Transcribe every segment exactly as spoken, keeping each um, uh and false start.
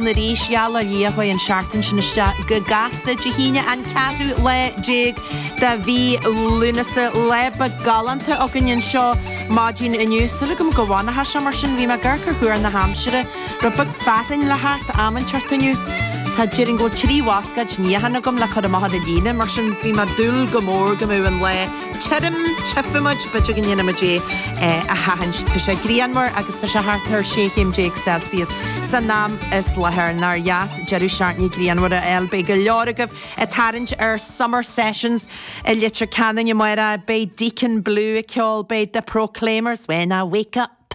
Arís gheall lia chuaigh an seachtain sin isteach go gasta. Dé hAoine, an ceathrú lá déag de mhí Lúnasa, lá beag galánta againn anseo maidin inniu. Súil agam go bhfanfaidh sé mar sin. Bhí mé ag amharc ar thuar na haimsire, rud beag fearthainn le theacht am inteacht inniu. Tá déarfainn go bhfuil trí bhascaed níocháin agam le cur amach ar an líne, mar sin bhí mé ag dúil go mór go mbeadh an lá tirim. Tchífimid, b'fhéidir go ndéanfaimid é a sheachaint. Tá sé grianmhar agus tá sé thart ar sé chéim déag Celsius san am is láthair. Nár dheas deireadh seachtaine grianmhar a fháil? Beidh go leor agaibh ag tarraingt ar Summer Sessions i Leitir Ceanainn amárach. Beidh Deacon Blue ag ceol, beidh The Proclaimers, "When I Wake Up.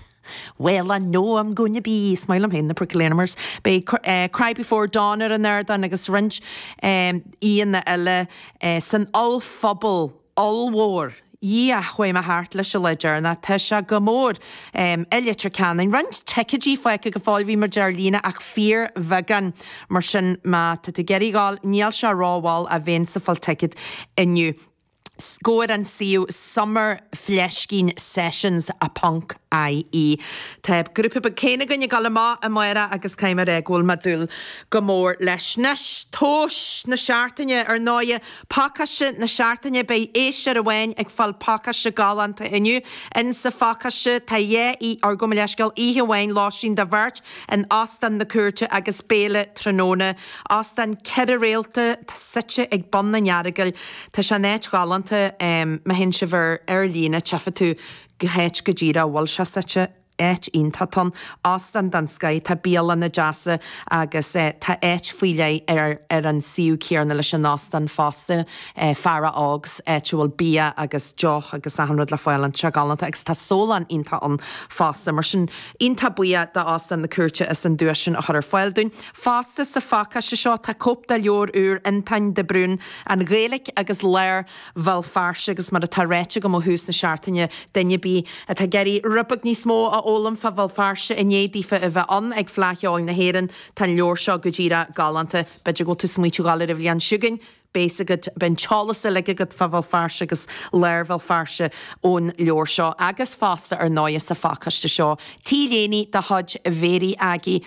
Well, I know I'm gonna be." Smile féin, The Proclaimers. Beidh uh, Cry Before Dawn ar an ardán agus roinnt um, aíonna eile uh, san ollphuball ollmhór. Dhia, chuaigh mé thart leis an lá deireanach. Tá sé go mór um, i Leitir Ceanainn. Roinnt ticéidí fágtha go fóill, bhí mar ar líne, ach fíorbheagán, mar sin má tá tú ag iarraidh gabháil, níl sé rómhall a bheith ag fáil ticéad inniu. Gabh ar an suíomh summer fleiscín sessions a ponc I E. Tá grúpa beag céanna againn ag dul amach amárach agus caithfidh mé go bhfuil mé ag dúil go mór leis. Anois, tomhas na seachtaine ar ndóigh, pacáiste na seachtaine. Beidh éisteoir amháin ag fáil pacáiste galánta inniu. In sa phacáiste tá dhá í ar go leiscail oíche amháin lóistín do bheirt in Óstán na Cúirte agus béile tráthnóna. Óstán ceithre réalta suite ag bun an Earagail. Tá sé in áit ghalánta. um, má théann sibh ar ar líne, tchífidh tú go háit go díreach bhfuil sé suite. Áit iontach ann, óstán den scoth, tá bialanna deasa agus eh, tá áit faoi leith ar ar an suíomh céanna leis an óstán fosta, eh, Fara Ogs, áit a bhfuil bia agus deoch agus achan rud le fáil. An sé galánta agus tá sólann iontach ann fosta, mar sin iontach buíoch d'Óstán na Cúirte as an duais sin a chur ar fáil dúinn. Fosta sa phacáiste seo tá cóip de leabhar úr Antoin de Brún, An Ghaeilge agus Lár Bhéal Feirste, agus mar atá ráite agam ó thús na seachtaine, duine ar bith atá ag iarraidh rud beag níos mó a fhoghlaim fá Bhéal Feirste i ndiaidh daofa a bheith ann ag Fleadh Cheoil na hÉireann, tá an leabhar seo go díreach galánta. B'fhéidir go bhfuil tú ag smaointiú dul ar an bhliain seo chugainn, beidh agat an t-eolas uilig agat fá Bhéal Feirste agus lár Bhéal Feirste ón leabhar seo. Agus fosta ar ndóigh sa phacáiste seo, T-léine de chuid Mhéirí Aggie.